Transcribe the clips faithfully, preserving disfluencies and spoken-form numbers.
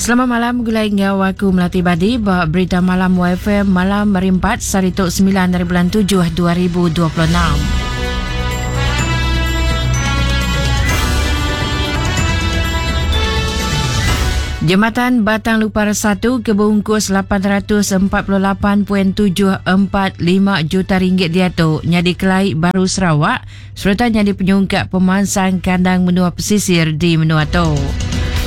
Selamat malam gulai ngau aku Melati Badi ba berita malam Y F M malam hari empat sehari tu sembilan dari bulan tujuh dua ribu dua puluh enam. Jembatan Batang Lupar satu ke bungkus lapan ratus empat puluh lapan perpuluhan tujuh empat lima juta ringgit diatu nyadi kelai baru Sarawak serta nyadi penyungkak pemansang kandang menua pesisir di menua tu.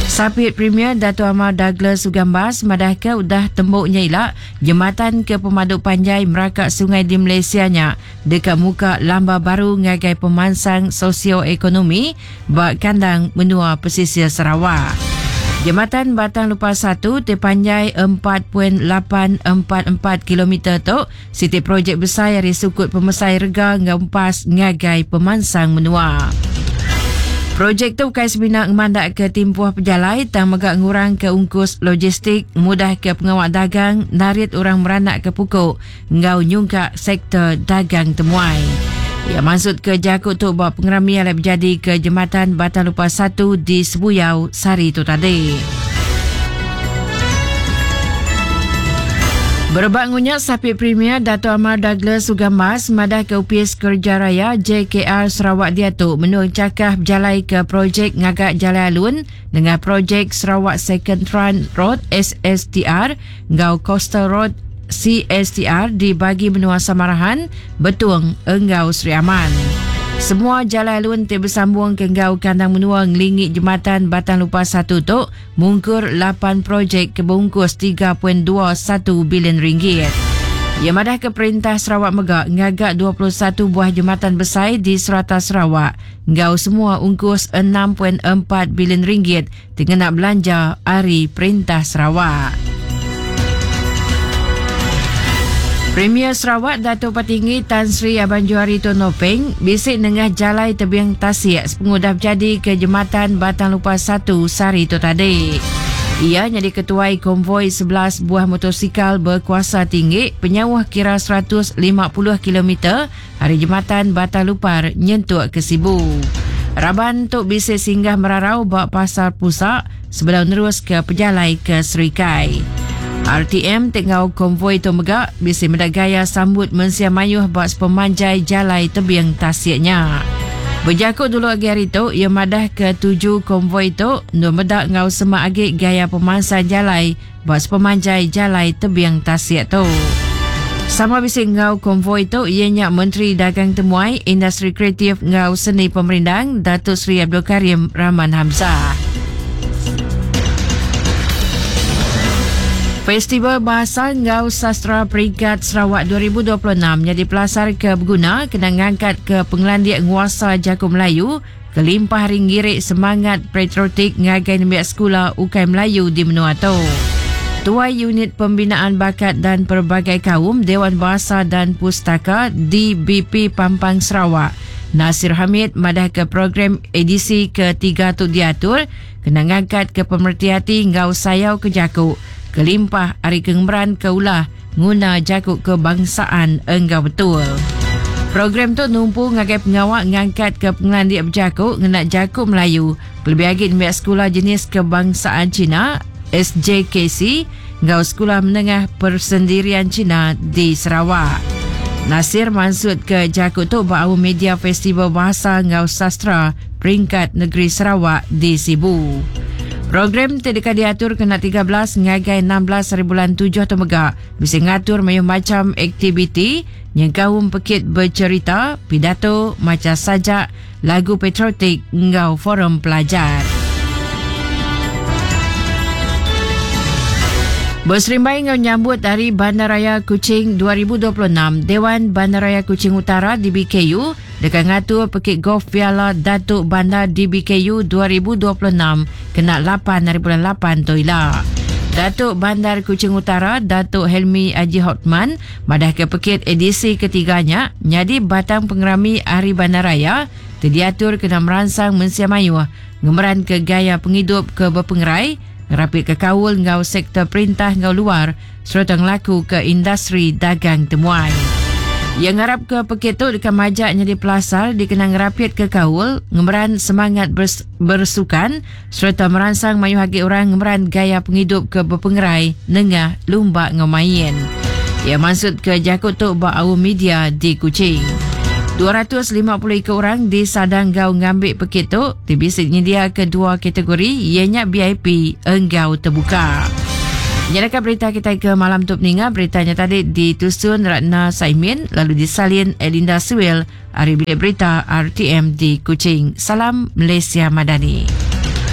Sapit Premier Dato' Amar Douglas Uggah Embas madah ke udah tembuknya ila jembatan ke pemadu panjai merakak sungai di Malaysia nya dekat muka lamba baru ngagai pemansang sosioekonomi ba kandang menua pesisir Sarawak. Jembatan Batang Lupar satu terpanjai empat perpuluhan lapan empat empat kilometer tu siti projek besar dari sukut pemesai rega ngempas ngagai pemansang menua. Projek tu bukan semina ngemandak ke timpuh pejalai tang megak ngurang ke ungkus logistik, mudah ke pengawal dagang, narit orang meranak ke pukul, ngau nyungkak sektor dagang temuai. Ya maksud ke jakut tu buat pengeramian yang berjadi ke Jembatan Batang Lupar satu di Sebuyau sehari tu tadi. Berebak ngunyat Sapit Premier Dato' Amar Douglas Uggah Embas madah ke Upis Kerja Raya J K R Sarawak diatu menung cakah berjalai ke projek ngagak Jalan Alun dengan projek Sarawak Second Trunk Road S S T R ngau Coastal Road C S T R di bagi menua Samarahan, Betung, Enggau Sri Aman. Semua jalan alun ti bersambung ke enggau kandang menua ngelingi Jembatan Batang Lupar satu tu mungkur lapan projek kebungkus tiga perpuluhan dua satu bilion ringgit. Ia madah ke Perintah Sarawak megak ngagak dua puluh satu buah jembatan besar di serata Sarawak enggau semua ungkus enam perpuluhan empat bilion ringgit dengan nak belanja ari Perintah Sarawak. Premier Sarawak Dato' Patinggi Tan Sri Abang Johari Tun Openg bisik nengah jalai tebing tasik sepengudah berjadi ke Jembatan Batang Lupar satu sehari tu tadi. Ia jadi ketuai konvoi sebelas buah motosikal berkuasa tinggi penyauh kira seratus lima puluh kilometer hari Jembatan Batang Lupar nyentuk ke Sibu. Raban tu bisik singgah merarau bak pasar pusat sebelum nerus ke pejalai ke Serikai. R T M tengau konvoi tu megak bisik mendak gaya sambut mensia mayuh bak sepemanjai jalai tebing tasiknya. Berjakut dulu agi hari tu, ia madah ke tuju konvoi tu nu medak ngau semak agi gaya pemansang jalai bak sepemanjai jalai tebing tasik tu. Sama bisik ngau konvoi tu ianya Menteri Dagang Temuai, Industri Kreatif ngau Seni Pemerindang Datuk Seri Abdul Karim Rahman Hamzah. Festival Bahasa Ngau Sastra Peringkat Sarawak dua ribu dua puluh enam jadi pelasar ke berguna kena ngangkat ke pengelandik nguasa Jaku Melayu kelimpah ringgirik semangat patriotik ngagai nembiak sekolah Ukai Melayu di Menua tu. Tuai Unit Pembinaan Bakat dan Pelbagai Kaum Dewan Bahasa dan Pustaka D B P Pampang Sarawak Nasir Hamid madah ke program edisi ketiga tu diatur kena ngangkat ke pemerhati hati ngau sayau ke Jaku kelimpah ari kengemeran ke ulah nguna Jaku kebangsaan enggau betul. Program tu numpu ngagai pengawak ngangkat ke pengelandik berjakuk ngena Jaku Melayu lebih lagi nembiak sekolah jenis kebangsaan Cina S J K C ngau sekolah menengah persendirian Cina di Sarawak. Nasir maksud ke Jaku tu bau media Festival Bahasa ngau Sastra Peringkat Negeri Sarawak di Sibu. Program tidak diatur kena tiga belas ngagai enam belas hari bulan tujuh tu megak. Bisa ngatur mayuh macam aktiviti yang kaum pekit bercerita, pidato, maca sajak, lagu patriotik ngau forum pelajar. Berserimbai ngau nyambut dari Bandaraya Kuching dua ribu dua puluh enam, Dewan Bandaraya Kuching Utara D B K U dekat ngatur pekit golf Piala Datuk Bandar D B K U dua ribu dua puluh enam kena lapan hari bulan lapan tu ila. Datuk Bandar Kuching Utara Datuk Helmi Haji Hotman madah ke pekit edisi ketiganya nyadi batang pengerami Hari Bandaraya terdiatur kena merangsang mensia mayuh ngemeran ke gaya penghidup ke berpengerai rapid ke kaul ngau sektor perintah ngau luar serta ngelaku ke industri dagang temuai. Yang ngarap ke pekit tu dekat majak jadi pelasar dikenang ngerapit ke kaul, ngemeran semangat bers- bersukan serta merangsang mayu hagi orang ngemeran gaya penghidup ke berpengerai nengah lumba ngemain. Ia maksud ke jakut tu ba awam media di Kuching. dua ratus lima puluh ekor orang di Sadang Gau ngambil pekit tu, T B C nyedia ke dua kategori, ianya V I P enggau terbuka. Nyalakan berita kita ke malam tu peninga, beritanya tadi ditusun Ratna Saimin lalu disalin Elinda Suel hari bilik berita R T M di Kuching. Salam Malaysia Madani.